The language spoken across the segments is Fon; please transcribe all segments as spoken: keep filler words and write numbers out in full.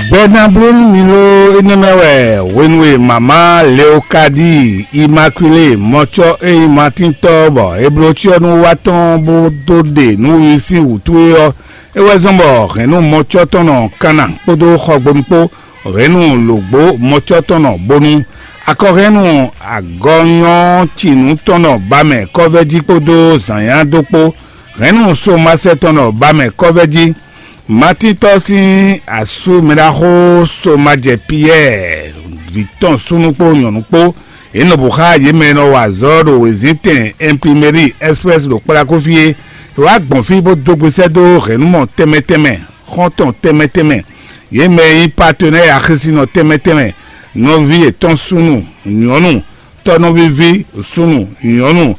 Gbɛ ná bló nú mi ló. Énɛ́ mɛ wɛ hwenu e mama Leokadi Imakwilée mɔcɔ e nyí Matíntɔ́ bɔ è bló cyɔ́nú wá tɔn bó dó ɖe nǔwiwi sín wǔtu é ɔ́, é wɛ zɔ́n bɔ hɛ̌nnu mɔcɔ tɔn nɔ kanna kpódó xɔgbonu kpó, hɛ̌nnu lǒgbó mɔcɔ tɔn nɔ bónú, akɔhɛ́nnu agɔnyɔ́cinu tɔn nɔ ba mɛ kɔ́vɛ́jí kpódó zǎnyá dó kpó, hɛ̌nnu somasɛ tɔn nɔ ba mɛ kɔ́vɛ́jí. Matíntɔ́ sín asú mɛɖaxó Somajɛ Piyɛ́ɛ, vǐ tɔn súnnu kpó nyɔ̌nu kpó, yě nɔ bǔ xá yě mɛ e nɔ wa azɔ̌ ɖo wězíntɛn Imprimeri Express ɖo Kplakófí é. È wá gbɔn fí bó dó gbe sɛ́ dó hɛ̌nnumɔ tɛnmɛ tɛnmɛ, xɔ́ntɔn tɛnmɛ tɛnmɛ, yě mɛ e nyí patenɛ́ɛ axésinɔ tɛnmɛ tɛnmɛ, nɔví yětɔn súnnu nyɔ̌nu, tɔ́nɔvíví súnnu nyɔ̌nu,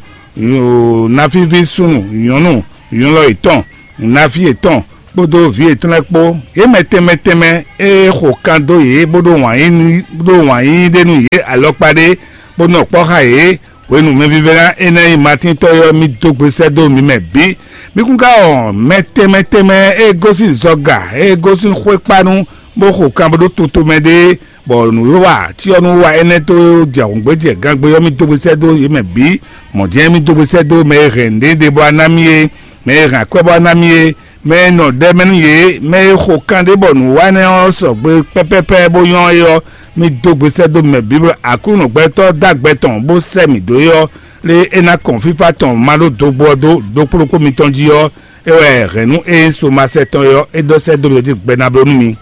nafíví súnnu nyɔ̌nu, nylɔ yětɔn, naví yětɔn kpódó vǐ yětɔn lɛ́ɛ kpó, yě mɛ tɛnmɛ tɛnmɛ e xo kan dó yě bó ɖó wǎn yí nú- bó ɖó wǎn yíyí ɖé nú yě alɔkpa ɖé, bó nɔ kpɔ́ xá yě. Hwenu mɛvívɛ́ná énɛ́ e nyí Matíntɔ́ é ɔ́, mì dó gbe sɛ́ dó mi mɛ bǐ. Mi kún ka wɔn mɛ tɛnmɛ tɛnmɛ e gosín zɔga, e gosín xwékpanu, bó xo kan bó ɖó tutomɛ ɖé, bɔ nǔwiwa cyɔ́núwa énɛ́ tó jɛ hǔngbéjɛ gangbe ɔ́, mì dó gbe sɛ́ dó yě mɛ bǐ. Mɔ̌ jɛ́n mì dó gbe sɛ́ dó mɛ e hɛn nǔɖé ɖěbǔ ná mì é, mɛ e hɛn akwɛ́ bɔ ná mì é, mɛ e nɔ ɖɛ mɛ nú yě, mɛ e xo kan ɖé bɔ nǔwanɛ ɔ́ sɔgbe pɛ́pɛ́pɛ́ bó nyɔ́ é ɔ́, mì dó gbe sɛ́ dó mɛ bǐ bɔ Aklúnɔ gbɛtɔ́ dó agbɛ tɔn bó sɛ́ mǐ dó é ɔ́, lé é ná kɔn fífá tɔn ma ɖó dogbo ɔ́ dó ɖokpó ɖokpó mitɔn jí ɔ́, é wɛ hɛ̌nnu e nyí somasɛ tɔn é ɔ́, é ɖɔ sɛ́ dó mi jí gbɛ ná bló nú mi.